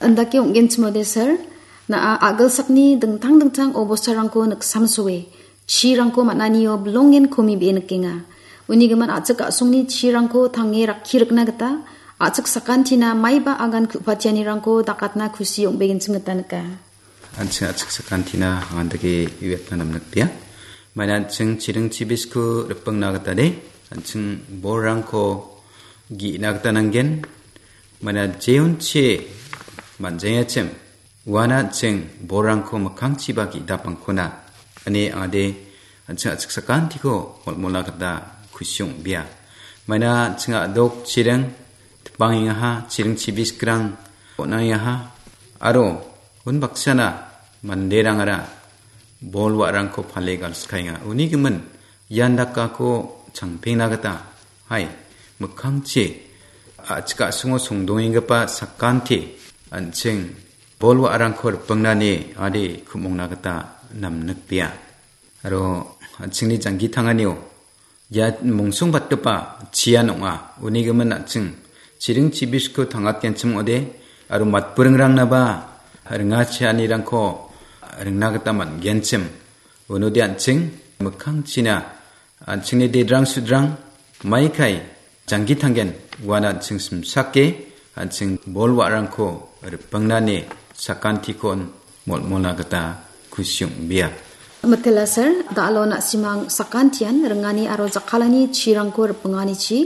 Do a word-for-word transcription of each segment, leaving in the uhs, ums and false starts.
Indake ong·genchimode, sir, na·a a·gilsakni dingtang dingtang obostarangko niksamsoe, chirangko man·anio bilongen komi be·e nikenga. Unigimin a·chik a·songni chirangko tange rakki rikna gita, a·chik sakantina maiba agan ku·patianirangko dakatna kusi ong·begenchim gita nika. An·ching a·chik sakantina andake uiatna namnikbea. Maina an·ching chiring chibisko ripengna gita de, an·ching bolrangko ge·na gita nanggen. Maina jeonchi man·jengachim uana an·ching bolrangko mikkangchiba ge·dapangkona ine ade an·ching a·chik sakantiko molmola gita kusi ong·bea. Maina an·ching a·dok chiring tipangengaha, chiring chibiskrang on·angengaha, aro unbaksana manderangara bol wa·rangko pale galskaenga. Uni gimin ian dakako changpengna gita, hai, mikkangchi a·chik a·songo songdongenggipa sakanti an·ching bol wa·rangko ripengnani ade ku·mongna gita namnikbea. Aro an·chingni janggi tanganio ia mongsongbatgipa chian ong·a. Uni gimin an·ching chiring chibisko tangatgenchim ong·ode aro matburingrangnaba ringa chianirangko ringna gita man·genchim. Unode an·ching mikkangchina an·chingni dedrang sudrang maikai janggi tanggen uan an·ching simsake an·ching bol wa·rangko ripengnani sakantikon molmola gita kusi ong·bea. Mitela, sir, da·alo na·simang sakantian ringani aro jakkalani chirangko ripenganichi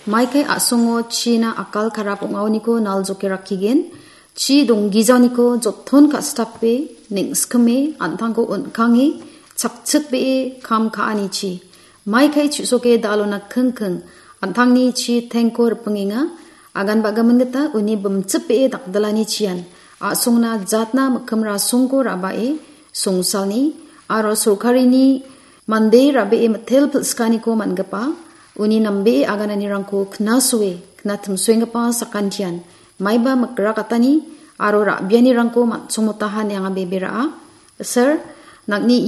maikai a·songo china akal karap ong·aoniko naljoke rakkigen. Chi donggijaniko joton ka·sitape, neng·skime, an·tangko on·kange, chakchikbee kam ka·anichi. Maikai chu·soke da·alona kingking, an·tangni chi tengko ripengenga. Agan ba·gimin gita uni bimchipbee dakdilani chian a·songna jatna mikkim rasongko ra·bae songsalni aro sorkarini mande ra·bee mitel pilsikaniko man·gipa uni nambee agananirangko knasoe knatimsoenggipa sakantian maiba mikrakatani aro ra·bianirangko man·songmotaha ine anga bebe ra·a. Sir, nang·ni